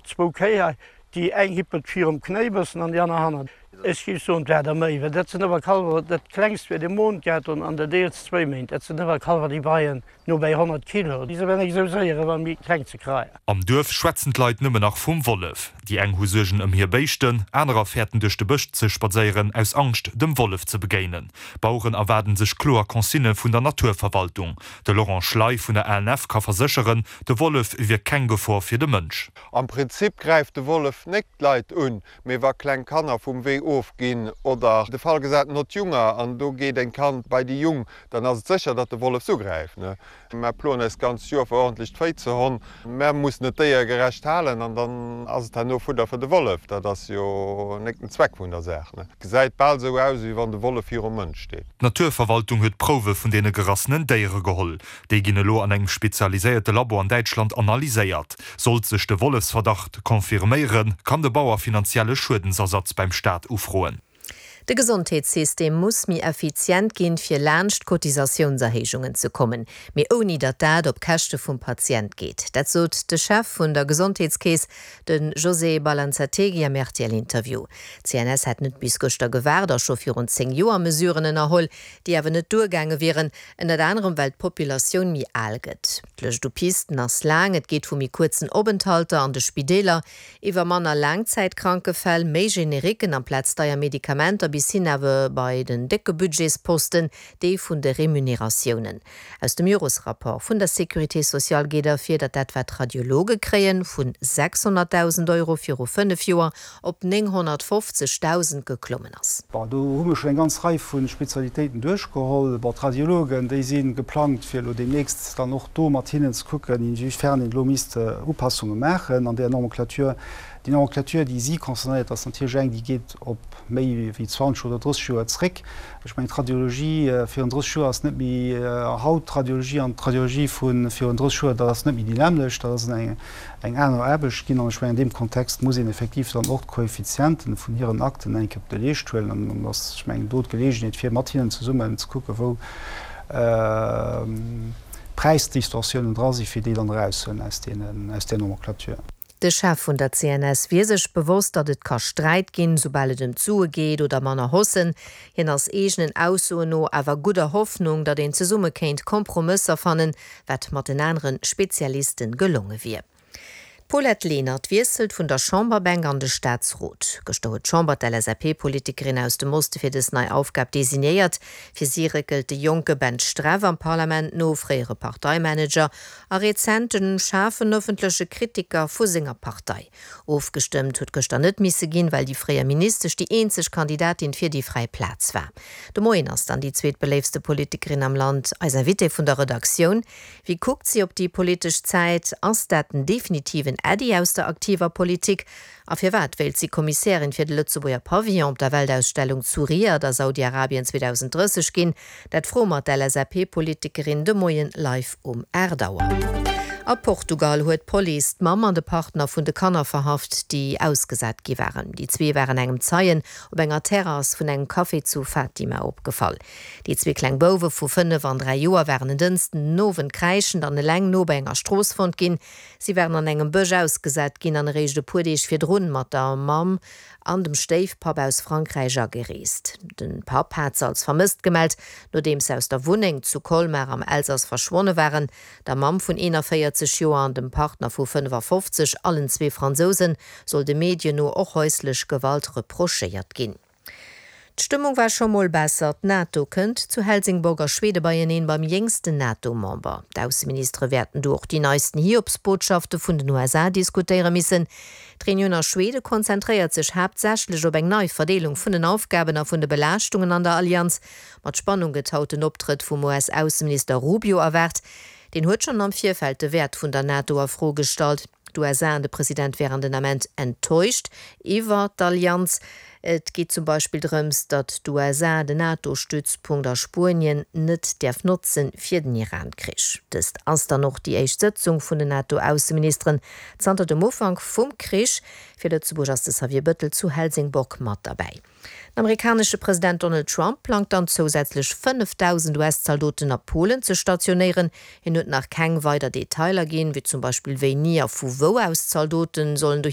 Zwou Kéi hei, déi eng hippelt virum Knéi bëssen an déi aner hannert. Ech géif soen, 't war der méi, well dat sinn ëmmer Kalwer, dat klengst wier de Mond gehat hunn an dat eelst zwéi Méint. Dat sinn ëmmer Kalwer, déi weien no bäi 100 Kilo. Déi si awer nik esou séier ewell méi kleng ze kreien. Am Duerf schwätzen d'Leit nëmmen nach vum Wollef. Déi eng hu Suergen ëm hir Béischten, anerer fäerten duerch de Bësch ze spadséieren aus Angscht dem Wollef ze begéinen. Baueren erwaarden sech kloer Consignë vun der Naturverwaltung. De Laurent Schley vun der ANF ka versécheren, De Wollef wier keng Gefor fir de Mënsch. Am Prinzip gräift de Wollef néck d'Leit un, mee wa kleng Kanner vum Wee ofginn oder de Fall gesat en hott Junger an do geet en Kand bei déi Jung, dann ass et sécher, datt de Wollef s'ugräift. Mär ploen eis d'ganzt Joer fir ordentlech d'Véi ze honn. Mär mussen et déiergerecht halen an dann ass et herno Fudder fir de Wollef. Dat ass jo néck den Zweck vun der Saach. Et gesäit bal sou aus, wéi wann de Wollef virum Mënsch steet. D'Naturverwaltung huet Prouwe vun deene gerassenen Déiere geholl. Déi ginn elo an engem spezialiséierte Labo an Däitschland analyséiert. Sollt sech de Wollefsverdacht confirméieren, kann de Bauer finanzielle Schuedensersatz beim Staat ufroen. De Gesondheetssystem muss méi effizient ginn, fir laanscht d'Cotisatiounserhéijungen ze kommen, mee ouni datt dat op Käschte vum Patient geet. Dat sot de Chef vun der Gesondheetskeess, de José Balanzategui am RTL-Interview. D'CNS hätt net bis gëschter gewaart a scho virun 10 Joer Mesuren ënnerholl, déi awer net duergaange wieren. Ënnert anerem well d'Populatioun méi al gëtt. D'Lëscht u Pisten ass laang, et geet vu méi kuerzen Openthalter an de Spideeler, iwwer manner Laangzäitkrankefäll, méi Generiquen amplaz deier Medikamenter bis hin awer bei den décke Budgetsposten, dee vun de Remuneratiounen. Aus dem Joresrapport vun der Sécurité sociale geet ervir, datt dat wat d'Radiologe kréien, vu 600.000 Euro viru 5 Joer op 950.000 geklommen ass. Bon, do hu mir schonn eng ganz Rei vu Spezialitéiten duerchgeholl. Bon, d'Radiologen, déi si geplangt, fir elo deemnächst dann och do mat hinnen ze kucken, inwiefern een elo misst Upassunge maachen an där Nomenclature. Déi Nomenclature, déi si concernéiert, ass natierlech eng, déi geet op méi wéi 20 oder 30 Joer zréck. Ech mengen, d'Radiologie virun 30 Joer ass net méi haut d'Radiologie an d'Radiologie vu virun 30 Joer, dat ass net méi déi nämmlecht. Dat ass eng eng aner Aarbecht ginn. An ech mengen, an deem Kontext muss een effektiv dann och d'Koeffizienten vun hiren Akten eng Kéier op de Leescht huelen. An dann ass, ech mengen, do d'Geleegenheet, fir mat hinnen zesummen ze kucken, wou Präisdistorsiounen dra sinn, fir déi dann erauszehuelen aus deenen, aus där Nomenclature. De Chef vun der CNS wier sech bewosst, datt et ka Sträit ginn, soubal et ëm d'Sue geet oder manner Haussen. Hien ass eegenen Aussoen no awer gudder Hoffnung, datt een zesumme kéint Kompromësser fannen, wat mat den anere Spezialiste gelonge wier. D'Paulette Lenert wiesselt vun der Chamberbänk an de Staatsrot. Gëschter huet d'Chamber d'LSAP-Politikerin aus dem Oste fir dës nei Aufgab designéiert. Fir si réckelt de jonke Ben Streff am Parlament no, fréiere Parteimanager a rezent en schaarfen ëffentleche Kritiker vu senger Partei. Ofgestëmmt huet gëschter net misse ginn, well déi fréier Ministesch déi eenzeg Kandidatin fir déi fräi Plaz war. De Moien ass dann déi zweetbeléiftste Politikerin am Land eis Invitée vun der Redaktioun. Wéi kuckt si op déi politesch Zäit? Ass dat den definitiven Äddi aus der aktiver Politik? A firwat wéilt si Kommissärin fir de Lëtzebuerger Pavillon op der Weltausstellung zu Riad a Saudi-Arabien 2030 ginn? Dat froe mer d'LSAP-Politikerin de Moien live um 8 Auer. A Portugal huet d'Police d'Mamm an de Partner vun de Kanner verhaft, déi ausgesat gi waren. Déi zwee waren engem Zeien op enger Terrass vun engem Café zu Fatima opgefall. Déi zwee kleng Bouwe vu 5 an 3 Joer waren en Dënschden den Owend kräischend an eleng no bei enger Strooss fonnt ginn. Si waren an engem Bësch ausgesat ginn an eréischt e puer Deeg virdrun mat der Mamm an dem Stéifpapp aus Frankräich agereest. De Papp hat se als vermësst gemellt, nodeems se aus der Wunneng zu Colmar am Elsass verschwonne waren. Der Mamm vun 41 Joer an dem Partner vu 55, allen zwee Fransousen, soll de Medien no och häuslech Gewalt reprochéiert ginn. D'Stëmmung war scho mol besser, D'NATO kënnt zu Helsingborg a Schwede beieneen beim jéngsten NATO-Member. D'Ausseministere wäerten do och déi neisten Hiobsbotschafte vun den USA diskutéiere missen. D'Reunioun a Schwede konzentréiert sech haaptsächlech op eng nei Verdeelung vun den Aufgaben a vun de Belaaschtungen an der Allianz. Mat Spannung gëtt haut den Optrëtt vum US-Ausseminister Rubio erwaart. Deen huet schonn am Virfeld de Wäert vun der NATO a Fro gestallt. D'USA an de President wären den Ament enttäuscht iwwer d'Allianz. Et geet zum Beispill drëms, datt d'USA den NATO-Stützpunkt a Spuenien net däerf notzen fir den Iran-Krich. Dëst ass dann och déi éischt Sëtzung vun den NATO-Ausseministeren zanter dem Ufank vum Krich. Fir Lëtzebuerg ass de Xavier Bëttel zu Helsingborg mat derbäi. Den amerikanesche President Donald Trump plangt dann zousätzlech 5.000 US-Zaldoten a Polen ze stationéieren. Hien huet nach keng weider Detailer ginn, wéi zum Beispill wéini a vu wou aus d'Zaldoten sollen dohi.